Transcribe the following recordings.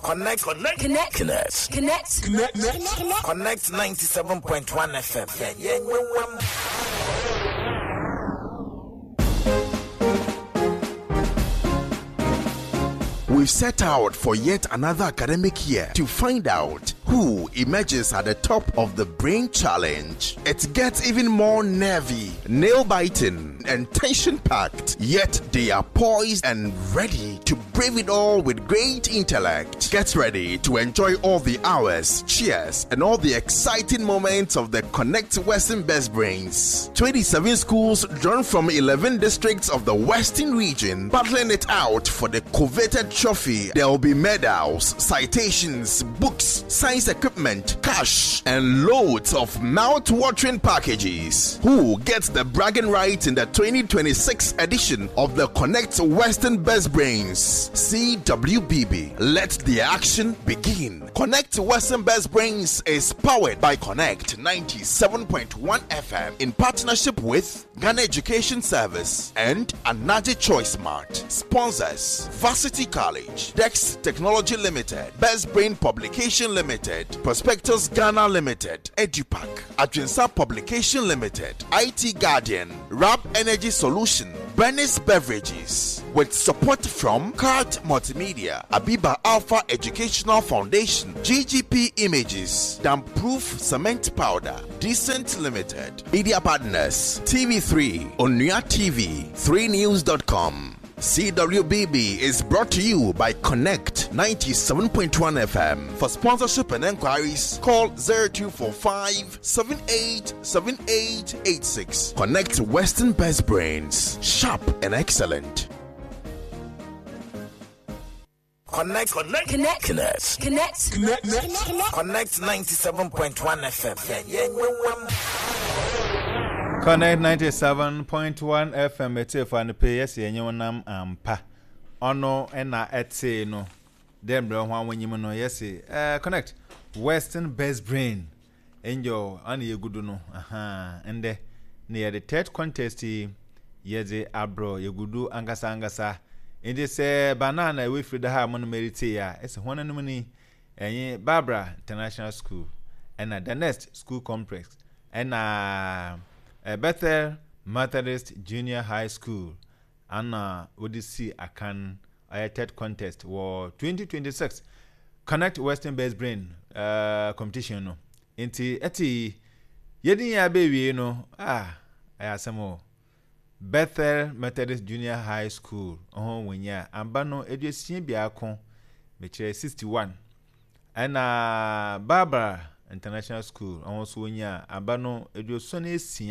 Connect. Connect. Connect. Connect. Connect. Connect. Connect 97.1 FM. Yeah, yeah, We've set out for yet another academic year to find out who emerges at the top of the Brain Challenge. It gets even more nervy, nail biting, and tension packed, yet they are poised and ready to brave it all with great intellect. Get ready to enjoy all the hours, cheers, and all the exciting moments of the Connect Western Best Brains. 27 schools drawn from 11 districts of the Western region battling it out for the coveted trophy. There will be medals, citations, books, science equipment, cash, and loads of mouth-watering packages. Who gets the bragging rights in the 2026 edition of the Connect Western Best Brains? CWBB. Let the action begin. Connect Western Best Brains is powered by Connect 97.1 FM in partnership with Ghana Education Service and Anaji Choice Mart. Sponsors Varsity College, Dex Technology Limited, Best Brain Publication Limited, Prospectus Ghana Limited, EduPack, Adrinsa Publication Limited, IT Guardian, Rap Energy Solution, Bernice Beverages, with support from Cart Multimedia, Abiba Alpha Educational Foundation, GGP Images, Damproof Cement Powder, Decent Limited, Media Partners, TV3, Onua TV, 3news.com. CWBB is brought to you by Connect 97.1 FM. For sponsorship and enquiries, call 0245 787886. Connect Western Best Brains, sharp and excellent. Connect. Connect. Connect. Connect. Connect. Connect. Connect 97.1 FM. Yeah, yeah, Connect 97.1 FM etiefo anɔpɛ yi yɛsɛ yɛnye wo nam ampa ɔno na ɛtee no dɛ mbrɛ ho awonyim no yɛse eh, Connect Western Best Brain Angel ana yɛgu do no aha ndɛ na yɛde third contest yi yɛdze abrɔ yɛgu do ankasa ankasa nti sɛ banana ɛwɔ efiri da ha a mo no meritsie a ɛsɛ hɔn anom ni ɛnye Barbara International School ɛna The Nest School Complex ɛna Bethel Methodist Junior High School ana wɔde sii akan ɔyɛ third contest wɔ 2026 Connect Western Best Brain uh, competition no nti ɛte yi yɛde yɛn abɛwie no ah ɛyɛ asɛm o Bethel Methodist Junior High School ho wɔnya amba no 61 mekyerɛ 61 ɛna Barbara International School ɔho nso wɔnya aba no 76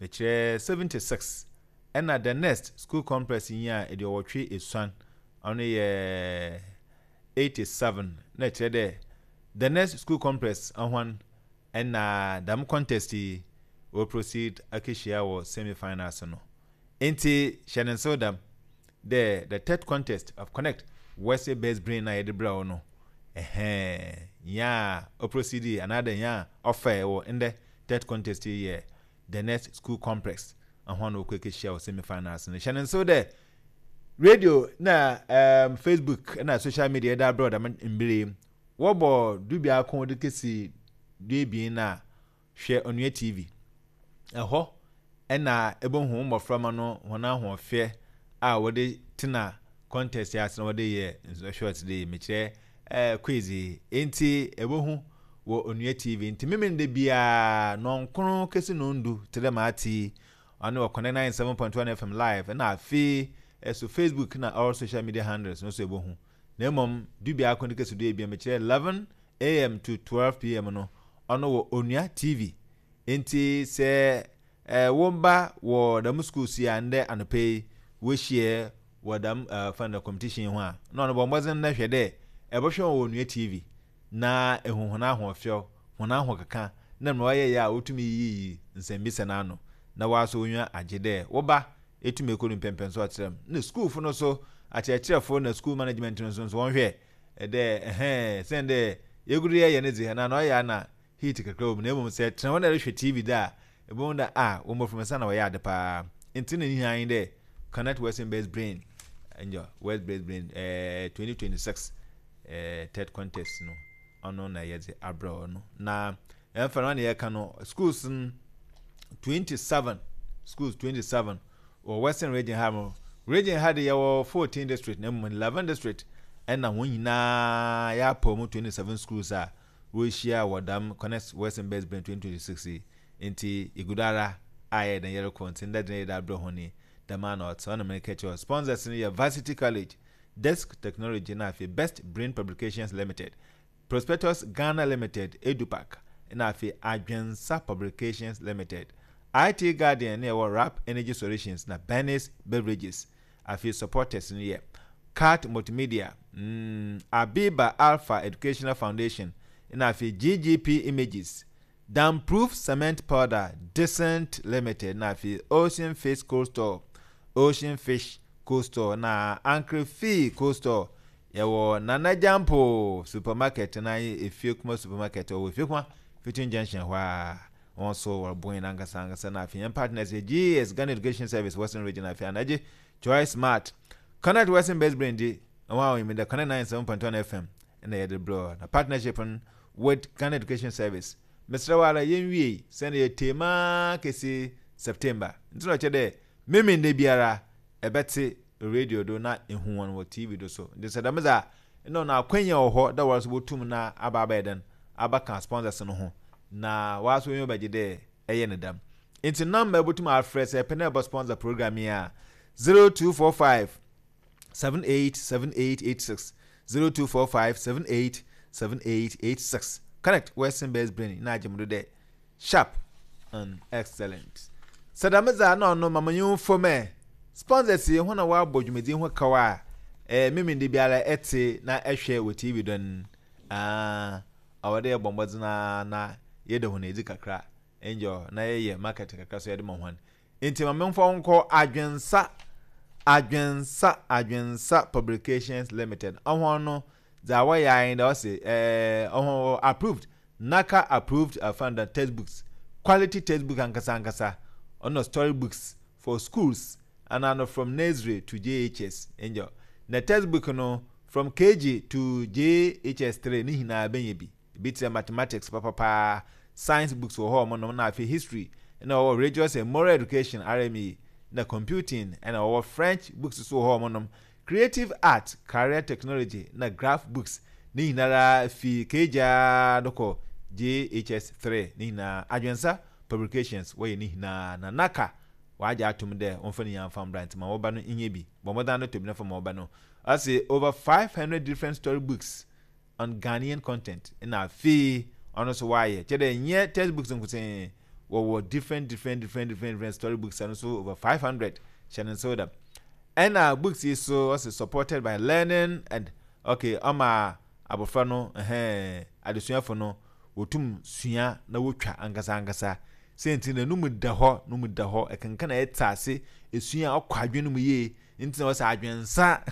mekyerɛ 76 ɛna The Nest School Complex nyaa eduowɔtwe esuon, ɔno yɛ 87, na kyerɛ dɛ The Nest School Complex hɔn na dɛm contest yi wɔ proceed akehyia wɔ semi finals no. Ntsi hyɛ no nsew dɛm dɛ the third contest of Connect West Best Brain a yɛdze brɛ wo no, ɛhɛn, nyia a oproceedii anaadɛ nyia a ɔfae wɔ ndɛ third contest yi yɛ The Next School Complex hɔn na wɔkɔ ekehyia wɔ semi finals no. Hyɛ no nsew dɛ radio na um, Facebook na social media yɛdze abrɛ wo dɛm mber yi, wɔbɔ dubiako dze kesi duebien no a, hwɛ Onua TV. Ɛhɔ na ebohu wo mboframba no hɔn ahoɔfɛ a wɔdze tsena contest yi ase na wɔdze yɛ nsɔhwɛ ɔtse dɛ yi, mekyerɛ eh, quiz yi. Ntsi ebohu wɔ Onua TV. Ntsi Memeneda biara, nɔnkron kesi nɔndu tse dɛ ma atse yi, ɔno wɔ Connect 97.1 FM live na afei so Facebook na all social media handles no so ebohu. Na mbom dubiako de kesi duebien, mekyerɛ 11 AM to 12 PM no, ɔno wɔ Onua TV. Ntsi sɛ Eh, wo mba wɔ dɛm skuulsu yi a ndɛ anɔpa yi woehyia wɔ dɛm eh, wɔfrɛ no dɛ competition yi ho a, nna ɔno bɔ mbɔdzen na hwɛ dɛ ebɔhwɛ hɔn wɔ Onua TV na ehu hɔn ahoɔfɛw, hɔn ahokeka na mbrɛ wɔyɛe a wotum yiyi nsɛmbisa no ano na wɔasɔ w'enyiwa agye dɛ wo ba etum ekodu mpɛnpɛnso a ɔtse dɛm. Nna skuulfo no so, akyerɛkyerɛfo na skuul management no so so wɔnhwɛ dɛ ɛhɛn, siandɛ yegu do yɛyɛ ne dze, ana na ɔyɛ a na heat kakra wɔ mu na mmom sɛ ɛtena hɔ na ɛrehwɛ TV dɛ a, ebohu dɛ ah, wo mboframba sa na wɔyɛ ade paa. Ntsi na ne hia nye dɛ Connect Western Based Brain, nyew, West Based Brain, eh, 2026. eh, third contest no ɔno na yɛdze abrɛ wo no. Na ɛmfa no na yɛka no schools no 27 schools 27 wɔ Western region ha no. Region ha de yɛwɔ 14 district na mmom 11 district ɛna wɔn nyinaa yɛapɔw mu 27 schools a wɔrehyia wɔ dɛm Connect Western Best Brain 2026 yi. Nti yɛgu do ara a yɛyɛ dɛn yɛrekɔ nti ndɛ de yɛde abrɛ hɔn yi dɛm ara na ɔtse. Ɔno na mereka kyerɛ wo. Sponsors no yɛ Varsity College, Desk Technology na afei Best Brain Publications Limited, Prospectus Ghana Limited, Edupac, na afei Adwensa Publications Limited. IT Guardian na yɛwɔ Rap Energy Solutions na Bernice Beverages. Afei supporters no yɛ Cat Multimedia, mm, Abiba Alpha Educational Foundation, na afei GGP Images, Damproof Cement Powder, Decent Limited, na afei Ocean Fish Cold Store, Ocean Fish Cold Store, na Ankere Fee Cold Store. Yɛwɔ Nana Gyampo Supermarket na Efiekuma Supermarket ɔwɔ Efiekuma Fitting Junction hɔ a. Wɔn nso wɔreboa yɛn ankasa ankasa na afei yɛn partners yɛ GES, Ghana Education Service, Western Region, afei Anagye Choice Smart, Connect Western Best Brain di, wɔn a wɔnyim dɛ Connect 97.1 FM na yɛde brɛ na partnership no with Ghana Education Service. Mesrɛ wo ara yɛnwiei sɛnea yɛtee maa kesi September. Nti na ɔkyerɛ dɛ Memenda biara ɛbɛtse radio do na ehu hɔn wɔ TV do so. Ntsi sɛ dɛm dze a, nna ɔno akwanya wɔ hɔ dɛ woara so botum na aba abɛyɛ dɛn, abɛka sponsors no ho na woara so w'enyiwa bɛgye dɛ ɛyɛ no dɛm. Ntsi number a ebotum afrɛ sɛ epɛ dɛ ebɔ sponsor program yi a, 0245 787886, 0245 787886. Connect Western Best Brain na agye mo do dɛ Sharp and excellent. Sɛ dɛm dze a nna ɔno ma menye wo mfom ɛ. Sponsors yi hɔn a wɔabɔ dwumadzi yi ho kaw a eh Memende biara etse na ehwɛ wɔ TV do no, aah ɔwɔ dɛ yɛbɔ mbɔdzen ara na yɛda hɔn edzi kakra, nyew, na yɛyɛ marketing kakra so yɛdze ma hɔn. Ntsi ma memfa wo nkɔ Adwensa, Adwensa, Adwensa Publications Limited. Hɔn no, dza wɔyɛ ara nye dɛ ɔse eh hɔn wɔ approved Naka approved afanda textbooks, quality textbook ankasa ankasa, ɔno story books for schools ana no from nursery to JHS angel. Na textbook no from KG to JHS 3 ne nyinaa bɛnya bi. Ebi te sɛ mathematics papapaa, science books wɔ hɔ a wɔnom na afei history na wɔwɔ religious and moral education RME na computing na wɔwɔ French books so wɔ hɔ a wɔnom Creative Art, Career Technology na Graph Books ne nyinara fi KG ara do kɔ JHS 3 ne nyinaa Adwensa Publications wɔyɛ ne nyinaa na Naka wɔagye ato mu dɛ wɔmfa ne nyinaa mfa mbra ntsi ma wɔba no nyɛ bi. Bɔ mbɔdzen ara na tɔ bi na fa ma wɔba no. Ɔse over 500 different story books on Ghanaian content na afei ɔno so wɔayɛ kyerɛ dɛ nnyɛ textbooks nkotsee wɔwɔ different different different different different story books ɛno so over 500 hyɛ no nsew dɛm ɛna books yi so ɔse supported by learning and okay ɔma abɔfra no ɛhɛn adesuafo no wɔtum sua na wotwa ankasa ankasa sɛ nti na no mu da hɔ no mu da hɔ ɛkenkan a ɛte ase esua ɔkɔ adwene no mu yie Nti na wɔsɛ adwensa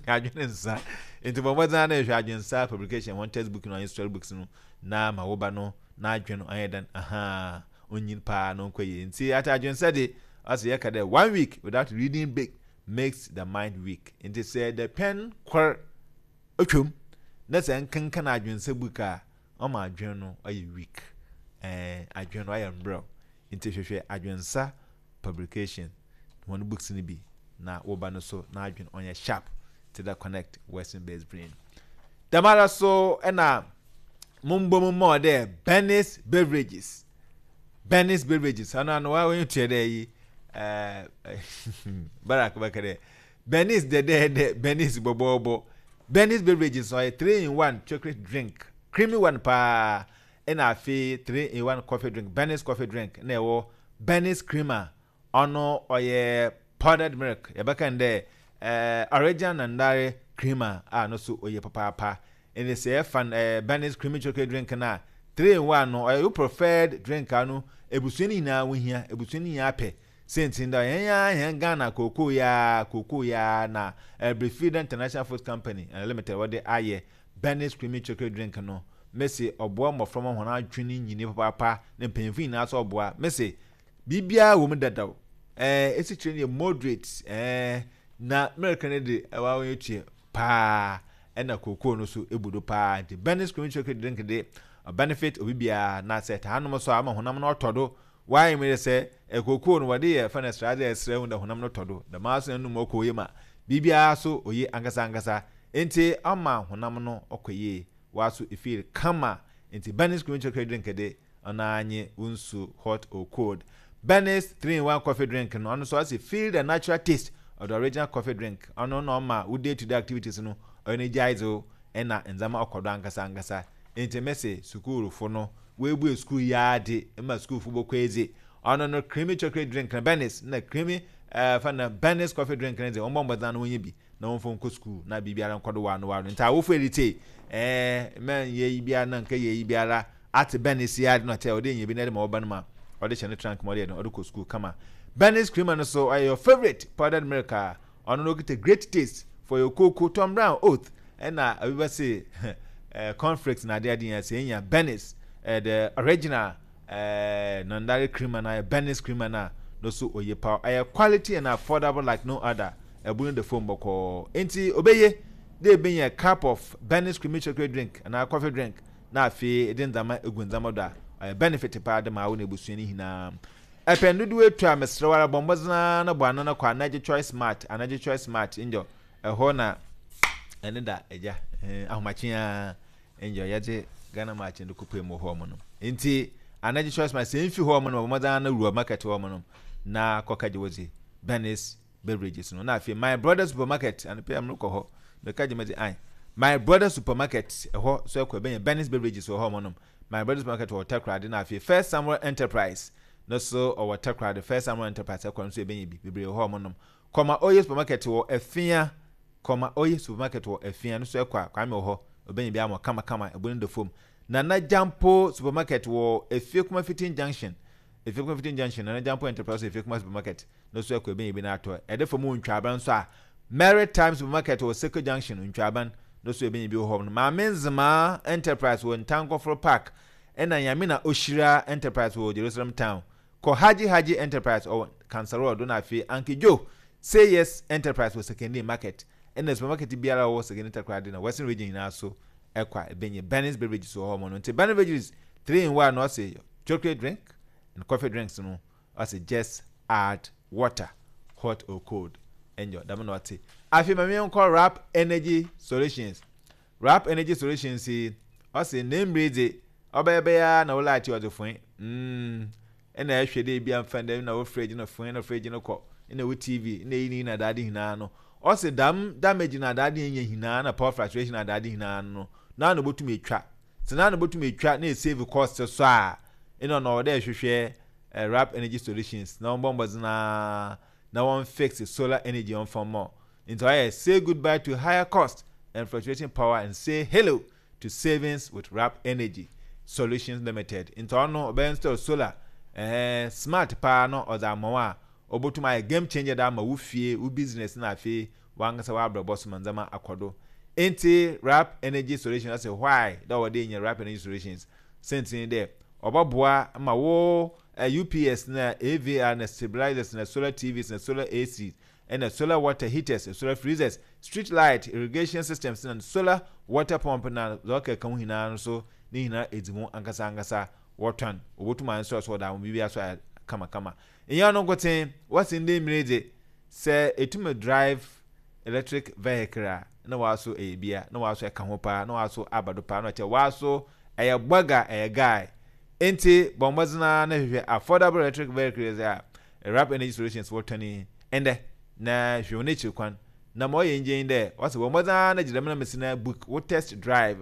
adwene nsa nti bɔ mmɔden ara na hwɛ adwensa publication wɔn textbook no anyi story books no na ma wo ba no n'adwene ɔnyɛ dɛn ahaa onyin paa na ɔnkɔ yie nti ata adwensa de ɔsɛ yɛka dɛ one week without reading big makes the mind weak nti sɛ dapɛn kor otwam na sɛ nkenkan adwensa book a ɔma adwene no ɔyɛ weak ɛɛ adwene no ɔyɛ mbrɛw nti hwehwɛ adwensa publication hɔn books no bi na wo ba no so n'adwen ɔnyɛ sharp tse dɛ connect western based brain. Dɛmara so na mombɔ mu ma wo dɛ Bernice Beverages Bernice Beverages ɔno ano wa wɔnyi tua dɛ yi ɛɛ Barak bɛka dɛ Bernice dɛdɛɛdɛ Bernice bɔbɔɔbɔ Bernice Beverages ɔyɛ 3 in 1 chocolate drink creamy one paa Ɛna afei 3 in 1 coffee drink, Benny's coffee drink na ɛwɔ Benny's creamer, ɔno ɔyɛ powdered milk, yɛbɛka no dɛ eh, original Nandare creamer a no so oye papaapa. Ɛne sɛ yɛfa no eh, Benny's creamy chocolate drink no a, 3 in 1 no ɔyɛ wo preferred drink a no ebusua no nyinaa wohia, ebusua no nyinaa pɛ. Sɛnti no dɛ hɛn ara hɛn Ghana kookoo yi ara, kookoo yi ara na eh, Brefida International Food Company eh, Limited wɔde ayɛ. Benny's Creamy Chocolate Drink no, mese ɔboa mbofra ma hɔn adwen nyini papaapa na mpanyimfo nyina so ɔboa. Mese biribiara wɔ mu dadaw. Ɛɛ, esikyire no yɛ moderate, ɛɛ, na milk no de, ɛwɔ a ɔyɛ tue paa. Ɛna kookoo no so ebu do paa. Nti Benny's Creamy Chocolate Drink de, ɔbenefit obi biara. Na sɛ ɛtaa nom so a, ɔma honam no ɔtɔ do. Why me de sɛ kookoo no wɔde yɛ fɛ no sraadze a ɛsrɛ hu dɛ honam no tɔ do. Dɛm ara so na enum ɔkɔ oye ma biribiara so oye ankasa ankasa. Ntsi ɔma honam no ɔkɔ yie. Woaso efeel kama. Ntsi Benny's Creamy Chocolate Drink de, ɔno ara nye wo nsu hot or cold. Benny's 3-in-1 Coffee Drink no, ɔno so ɔse feel the natural taste of the original coffee drink. Ɔno na ɔma wo day to day activities no ɔyɛ energize wo na ndzɛmba ɔkɔ do ankasa ankasa. Ntsi mese sukuurfo no woebue skuul yi ara dze ma skuulfo bɔkɔ edzi. Ɔno no creamy chocolate drink no Benny's na creamy eh, fa no Benny's coffee drink no dze wɔmbɔ mbɔdzen ana wonnya bi na wɔmfa nkɔ skuul na biribiara nkɔ do waano waano. Ntsi awofo eritsie eh, mma nnyɛ iyi biara na nnkɛyɛ iyi biara Atse Bernice yi ara na ɔtse a ɔde nya bi na ɛde ma ɔba no ma ɔde hyɛ ne trunk mu ɔde yɛ dɛn ɔde kɔ sukuu kama. Bernice creamer no so ɔyɛ your favourite powdered milk a ɔno no okita great taste for your cocoa, Tom Brown, oat ɛna obi bɛ se eh, cornflakes na ade ade nyinaa sɛ enya Bernice eh, the original eh, nandare creamer na Bernice creamer na no so oye pa ɛyɛ quality and affordable like no other ɛbu no de fom bɔkɔɔ nti obeye de ebenya cup of Bernice creamy chocolate drink anaa coffee drink na afei edze ndzɛmba egu ndzɛmba do a, ɔyɛ benefit paa de ma wo na ebusua no nyina. Epɛn dodow etu a, meserɛ wo ara bɔ mbɔdzen ara na bɔ anan kɔ Anagye Choice Mart, Anagye Choice Mart, ngyɔ ɛhɔ na ɛne da agya, eh, ahomakye ara, ngyɔ yɛdze Ghana March no kɔpue mu wɔ hɔ nom. Ntsi Anagye Choice Mart, sɛ mmfi hɔ nom a, bɔ mbɔdzen ara na wura market hɔ nom na kɔkɛgye wo dze, Bernice Beverages no. Na afei My Brother Supermarket, anɔpa yi a merekɔ hɔ, meka gye medze an. My Brother Supermarket, ɛhɔ so ɛkɔ ɛbɛnya Benny's Beverages wɔ hɔ wɔnom. My Brother Supermarket wɔ Takoradi na afei First Samuel Enterprise no so ɔwɔ Takoradi. First Samuel Enterprise ɛkɔ no so ɛbɛnya bi bebree wɔ hɔ wɔnom. Kɔma Oye Supermarket wɔ Afia, Kɔma Oye Supermarket wɔ Afia no so ɛkɔ a Kwame wɔ hɔ, ɔbɛnya bi ama kama kama, ɛbo no da fam. Nana Gyampo Supermarket wɔ Efie Fitin Junction, Efie Fitin Junction, Nana Gyampo Enterprise wɔ Efie Supermarket. no so ɛkɔ ebɛn ebi no atɔ. Ɛde fam wɔ Ntwaban nso a, Maritime Supermarket wɔ Circle Junction, Ntwaban, no so ebɛn ebi wɔ hɔ. Maame Nzemaa Enterprise wɔ Ntankɔforo Park, ɛna Nyame na Ohyira Enterprise wɔ Jerusalem Town. Kɔ Haji Haji Enterprise ɔwɔ Kansarɔ do na afei Anke Joe Say Yes Enterprise wɔ Sekondi Market, ɛna supermarket biara a ɔwɔ Sekondi Takoradi na Western Region nyinaa so ɛkɔ a ebɛnya Benny's Beverages wɔ hɔ no. Nti Benny's Beverages 3 in 1 no ɔse chocolate drink and coffee drinks no Ɔse just add water hot or cold enyo dɛm na ɔtse. Afei ma menkɔ Rap Energy Solutions. Rap Energy Solutions yi ɔse ne mber yi dze ɔbɛyɛ bɛyɛ ara na wo light yi ɔdze foe mm nna ɛhwɛ dɛ ebia mfa ndɛ na wo fridge no foe na fridge no kɔ nna wo TV nna iyi ne iyi na adaade nyinaa no ɔse dɛm damage na adaade enya nyinaa na power fluctuation na adaade nyinaa no na na obotum etwa sɛ na na obotum etwa na esave cost so a nna ɔno ɔwɔ dɛ ehwehwɛ Wrap Energy Solutions na wɔmbɔ mbɔdzen ara na wɔn fix solar energy ɔmfa mma wo. Ntsi ɔayɛ say goodbye to higher cost and fluctuating power and say hello to savings with Wrap Energy Solutions Limited. Ntsi ɔno ɔbɛ install solar eh, smart paa na ɔdze ama wo a obotum ayɛ game changer dze ama wo fie, wo business na afei wankasa w'abrabɔ so ma ndzɛmba akɔ do. Ntsi Wrap Energy Solutions ɔse why dɛ ɔwɔ dɛ inya Wrap Energy Solutions? Siantsir nye dɛ ɔbɔboa ma wo UPS na AVR na stabilizers na solar TVs na solar AC na solar water heaters, solar freezers, street light, irrigation systems na solar water pump na dza ɔkeka ho nyina no so ne nyina edzi mu ankasa ankasa wɔtɔn. Wobotum ayɛ so ɔda ho biribiara so ayɛ kamakama. Nnyɛ ɔno nkotsee, wɔse ndɛ mber yi dze sɛ etum drive electric vehicle a na wɔaso ɛyɛ bia na wɔaso ɛka ho paa na wɔaso aba do paa na ɔkyerɛ wɔaso ɛyɛ bɔga ɛyɛ guy ntsi bɔ mbɔdzen ara na hwehwɛ affordable electric vehicles a Wrap Energy Solutions wɔtɔn yi ndɛ na hwehwɛ hɔn ekyir kwan na ma ɔyɛ enyigye nye dɛ wɔse bɔ mbɔdzen ara na gye dɛm na mesi na book wo test drive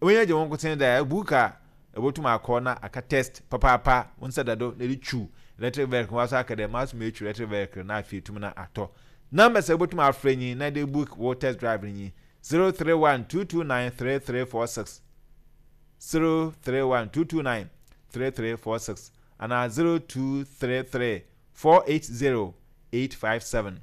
w'enyi agye wo nkotsee dɛ book a Ebotum akɔ na aka test papaapa, wo nsa da do na edze twuw electric vehicle, wɔaso aka dɛ maso metwiw electric vehicle na afei etum na atɔ. Numbers a ibotum afrɛ nye na edze book wo test drive no nye, 031 229 3346, 031 229 3346 anaa 0233 480 857.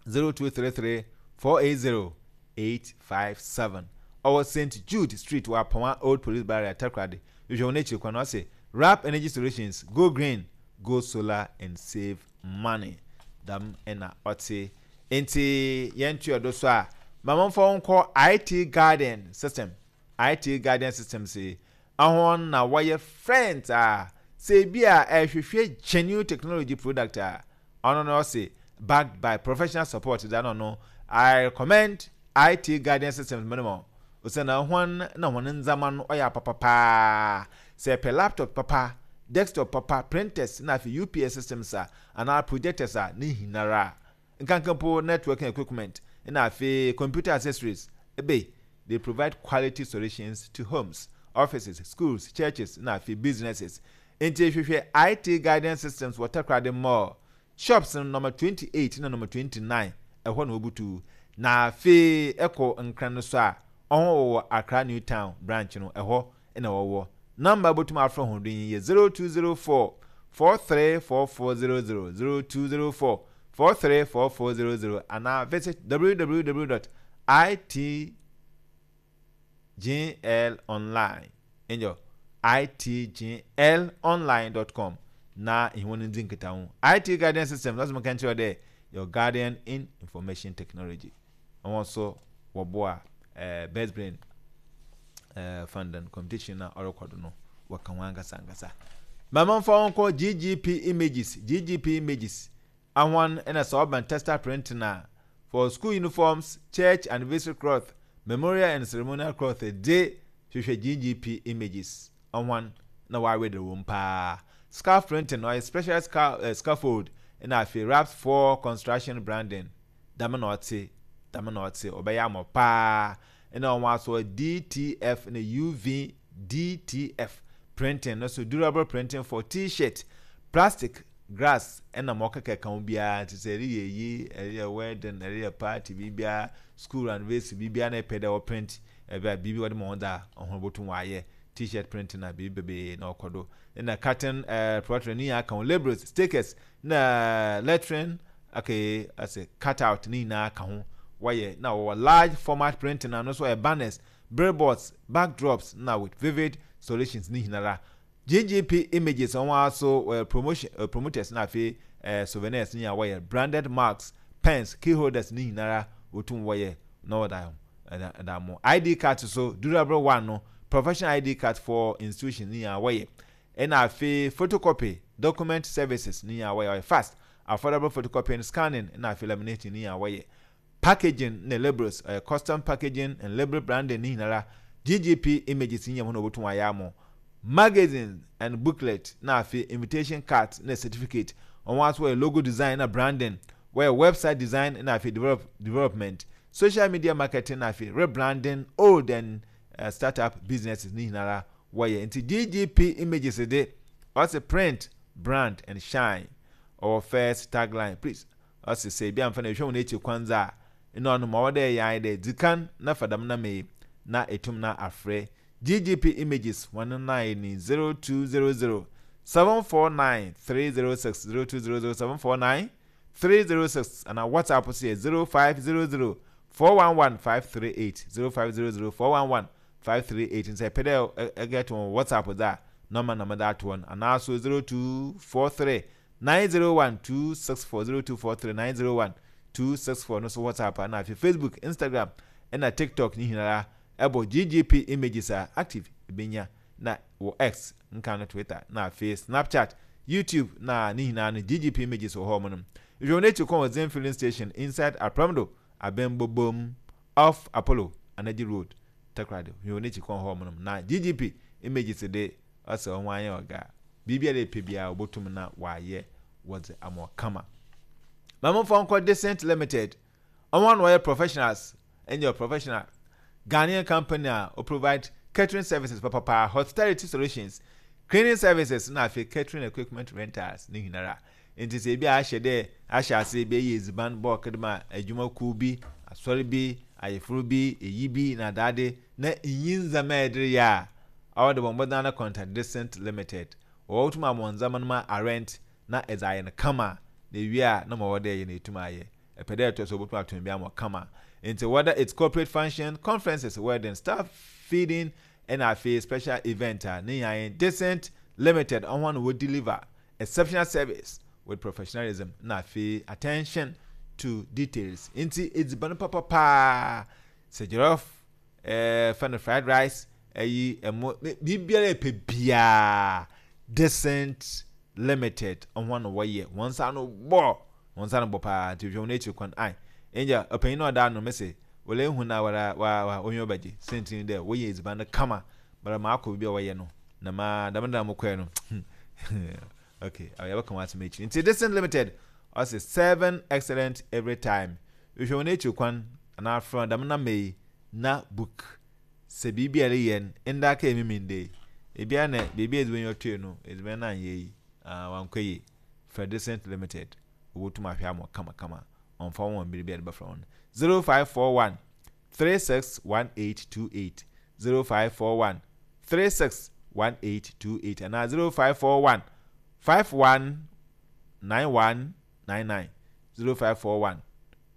0233 480 857. Ɔwɔ St. Jude Street wɔ Apawa Old Police Barrier, Takoradi. Hwehwɛ wɔn akyiri kwan. Ɔse, Wrap Energy Solutions, Go Green, Go Solar and Save Money. Dɛm na ɔte. Enti yɛntoa do so a, Ma momfa wo nkɔ IT Guardian System. IT Guardian System se ahɔn na wɔyɛ friends a sɛ ebi a ɛhwehwɛ genuine technology product a, ɔno no ɔse backed by professional support da no no, I recommend IT Guardian Systems mene mo, osiandɛ hɔn na hɔn ndzɛmba no ɔyɛ apapa paa. Sɛ epɛ laptop papa, desktop papa, printers na afei UPS systems a anaa projectors a, ne nyinara, nkanka mpo networking equipment na afei computer accessories, ebe they provide quality solutions to homes, offices, schools, churches na afei businesses. Ntsi hwehwɛ IT Guidance Systems wɔ Takoradi Mall, shops no number 28 na number 29, ɛhɔ na wobutu. Na afei ɛkɔ Nkran no so a, ɔho wɔwɔ Accra New Town branch no, ɛhɔ na wɔwɔ. Number a botum afrɛ hɔn do yi yɛ 0204 434400, 0204 434400, anaa visit www.itglonline, nyew, itglonline.com na enye hɔn ndzi nkitaho. IT Guardian Systems, ɔse menka nkyerɛ wo dɛ, your guardian in information technology. Hɔn so wɔboa Best Brain Funding competition na ɔrokɔ do no, wɔka ho ankasa ankasa. Ma momfa wo nkɔ GGP Images, GGP Images, ahɔn na sɛ ɔba tester printing a, for school uniforms, church anniversary cloth, memorial and ceremonial cloth dze, hwehwɛ GGP Images, ɔhɔn na wɔaweder wɔ mu paa. Scarf printing, ɔyɛ special scaffold na afei wraps for construction branding. Dɛm na ɔtse, dɛm na ɔtse, ɔbɛyɛ ama wo paa. Nna wɔasɔ DTF na UV-DTF printing no so, durable printing for T-shirt, plastic, grass na ma ɔkeka ho biara. Ntsi sɛ ereyɛ eyi, ereyɛ wedding, ereyɛ party, biribiara, school anniversary, biribiara na epɛ dɛ wɔprint, bi a biribi wɔdze ma wo dze a, hɔn botum wɔayɛ. T-shirt printing a, biribi beberee na ɔkɔ do. Nna cutting, plotting ne nyinaa ka ho, labels, stickers, na lettering, okay, ɔsɛ cut out ne nyinaa ka ho wɔyɛ. Na wɔwɔ large format printing ano nso ɔyɛ banners, billboards, backdrops na with vivid solutions ne nyinara. GGP Images wɔn ara so wɔyɛ promotion promoters na afei souvenirs ne nyinaa wɔyɛ, branded mugs, pens, key holders ne nyinara wɔtum wɔyɛ na wɔda ho ɛda mo. ID cards so durable one no, professional ID card for institutions ne nyinaa wɔyɛ. Ɛna afei photocopy, document services ne nyinaa wɔyɛ, ɔyɛ fast, affordable photocopying, scanning ɛna afei laminating ne nyinaa wɔyɛ. Packaging ne labels, ɔyɛ custom packaging and label branding ne nyinara, GGP Images ne nyinaa na wɔbɛtum ayɛ ama wo. Magazines and booklet na afei invitation cards na certificate, wɔn nso wɔyɛ logo design na branding, wɔyɛ website design na afei development, social media marketing na afei rebranding old and startup businesses ne nyinara wɔyɛ. Nti GGP Images de, ɔse print, brand and shine. Ɔwɔ first tagline, please. Ɔse sɛ ebi amfa na ehwɛ wɔn ekyir kwan dze a, nna ɔno ma ɔwɔ dɛ eyɛ ara nye dɛ dzi kan na fa dɛm nama yi na etum na afrɛ GGP Images hɔn line ni 0200 749 306, 0200 749 306, anaa WhatsApp so yɛ 0500 411 538, 0500 411 538. Ntsi epɛ dɛ eget hɔn wɔ WhatsApp dze a, nɔma na medze ato hɔ no, anaa so 0243 901 264, 0243 901 264 no so WhatsApp a, na afei Facebook, Instagram na TikTok ne nyinara ɛbɔ GGP Images a active ebenya, na wɔ X nka no Twitter, na afei Snapchat, YouTube na ne nyinaa no GGP Images wɔ hɔ nom. Hwehwɛ wɔn akyi kɔn wɔ Zen Filling Station inside Apremdo Abɛnbobom off Apollo Anaji Road, Takoradi. Hwehwɛ wɔn akyi kɔn hɔ nom na GGP Images de ɔsɛ wɔn anyɛ ɔga. Biribiara epɛ biara obotum na wɔayɛ wɔdze ama wo kama. Ma momfa nkɔ Decent Limited. Wɔn na wɔyɛ professionals, ɛnyɛ professional Ghanaian company a o provide catering services papapa, hospitality solutions, cleaning services na afei catering equipment rentals ne nyinara. Nti sɛ ebi a ahyɛ dɛ ahyɛ ase ebi ɛyɛ edziban bulk de ma adwumakuw bi, asɔre bi, ayeforo bi, eyi bi na adaade na nnyi ndzɛmba a ɛde reyɛ a, ɔwɔ de bɔ mbɔdzen ara contact Decent Limited. Wɔbɔtum ama wo ndzɛmba no ma arent na edze ayɛ no kama, na ewie a na ma ɔwɔ dɛ eyɛ no etum ayɛ. Epɛ dɛ etɔ so a obotum atɔn bi ama wo kama. Ntsi whether it's corporate function, conferences, wedding, staff feeding na afei special event a, ne nyinaa nye Decent Limited hɔn na wɔ deliver exceptional service with professionalism na afei attention. to details. Nti edziban papa paa, sɛ jollof, ɛɛ fɛ no fried rice, ɛyi ɛmo, biribiara ɛpɛ biara, Decent Limited ɔho na wɔyɛ. Wɔn nsa ano bɔ, wɔn nsa ano bɔ paa. Nti hwɛ wɔn akyiri kwan. Ai, ɛngya ɔpanyin na ɔda ano mese, wɔlɛ ehu na wara wa wa onyi ɔbɛgye. Sɛntini dɛ wɔyɛ edziban no kama, bara ma akɔ biribi a wɔyɛ no, na ma dɛm da mo kɔɛ no. Okay, yɛbɛka wɔn asɛm akyiri. Nti Decent Limited, ɔse serving excellent every time. Hwɛ wɔn akyiri kwan, anaa frɛ wɔn dɛm namba yi na book. Sɛ biribi a ɛreyɛ no, nda aka emi me nda yi. Ebia na beebi a edziban yi ɔtɔe no, edziban no annyɛ yi, ah, ɔannkɔ yie. Frɛ Decent Limited, wobotum ahwɛ ama wo kamakama. Ɔmmfa wo ho mber bi a edze bɛfrɛ hɔn. 0541 361828, 0541 361828 anaa 0541 519199, 0541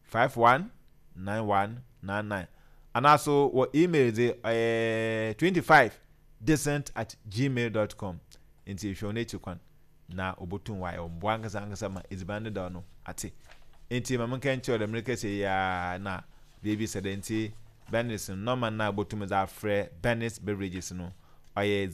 519199 anaa so wɔ email dze ɔyɛ 25 decent at gmail dot com. Ntsi hwɛ hɔn ekyir kwan na obotum ɔayɛ wo mboa ankasa ankasa ma edziban dedaw no atse. Ntsi ma menka nkyerɛ wo dɛ merekasa yi ara na beebi sɛ dɛ ntsi Bernice no nɔma no a ibotum dze afrɛ Bernice Beverages no ɔyɛ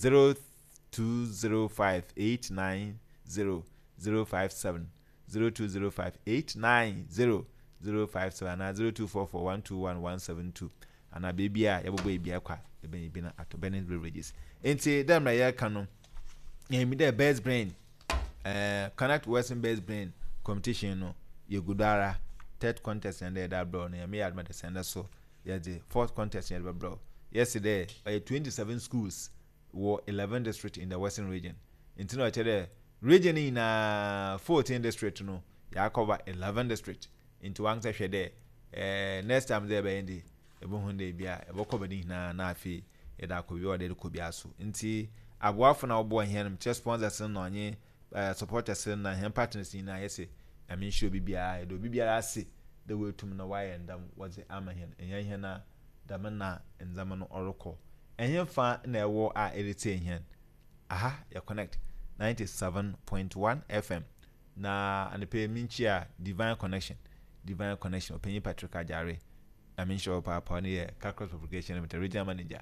0205 890 057. 0205 890 057 anaa 0244 121 172 anaa beebi a yɛbobɔ ebia kɔ a ebɛn bi na atɔ Burning Beverages. Ntsi dɛ mbrɛ yɛreka no, yɛnyim dɛ Best Brain, eh, Connect Western Best Brain competition no yegu do ara. Third contest na ndɛ yɛdze abrɛ wo no, Nyame yɛ adom a dɛsɛn ndɛ so yɛdze fourth contest na yɛdze bɛbrɛ wo. Yɛse dɛ ɔyɛ 27 schools wɔ 11 district in the Western Region. Ntsi na ɔkyerɛ dɛ region no nyina 14 district no yɛakɔva 11 district. Ntsi wankasa hwɛ dɛ eh, next time dɛ yɛbɛyɛ de ebohu dɛ bi a yɛbɔkɔva ne nyina na afei yɛdze akɔ bi a ɔwɔ dɛ yɛdze kɔ biara so. Ntsi aboafo na wɔboa hɛn, mekyerɛ sponsors no na ɔnye eh, supporters no na hɛn partners nyina yɛse Nyame nhyira obi biara, yɛda obi biara ase dɛ oetum na ɔayɛ ndam wɔdze ama hɛn, nnyɛ hɛn a dɛm na ndzɛmba no ɔrokɔ. Ɛhefa na ɛwɔ a eretsie hɛn? Aha yɛ Connect 97.1 FM na anɔpa yi minkyia Divine Connection, Divine Connection, Ɔpanyin Patrick Agyare, Nyame nhyira wo paapa, ɔno yɛ Kakra Publication Limited Regional Manager,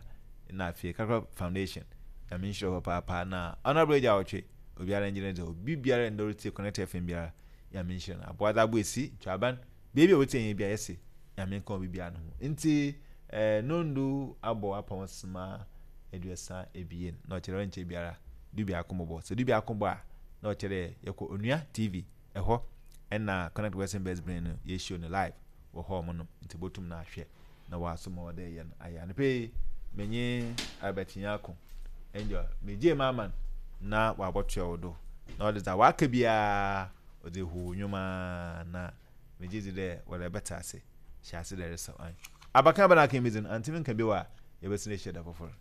na afei Kakra Foundation, Nyame nhyira wo papaapa, na Honourable Agya Awɔtwe, obiara ngye ne dze, obi biara ndɛ ɔretsie Connect FM biara, Nyame nhyira no, Aboadze Aboesi, Ntwaban, Beebi a wotsie hɛn biara yɛse Nyame nka obi biara no ho. Ntsi eh, nondu abɔ apɔn sema 32 na ɔkyerɛ ɔnnkyɛ biara dubiako bɔbɔ. Sɛ dubiako bɔ a na ɔkyerɛ dɛ yɛkɔ Onua TV ɛhɔ ɛna Connect Western Best Brain no yɛ show no live wɔ hɔ ɔmo nom ntsi botum na ahwɛ na wɔaso ma ɔwɔ dɛ yɛ no ayɛ. Anɔpa yi menye Albert Nyarko Angel megyee m'aman na wɔabɔtoa wo do na ɔdze dza wɔaka biara ɔdze ehuw nnwom ara na megye dzi dɛ wɔdze bɛtse ase. Hyɛ ase dɛ eresaw. Ae. Abakan bɛn na aka emi dze no, anntse me nka bio a, yɛbɛsan ehyia da fofor.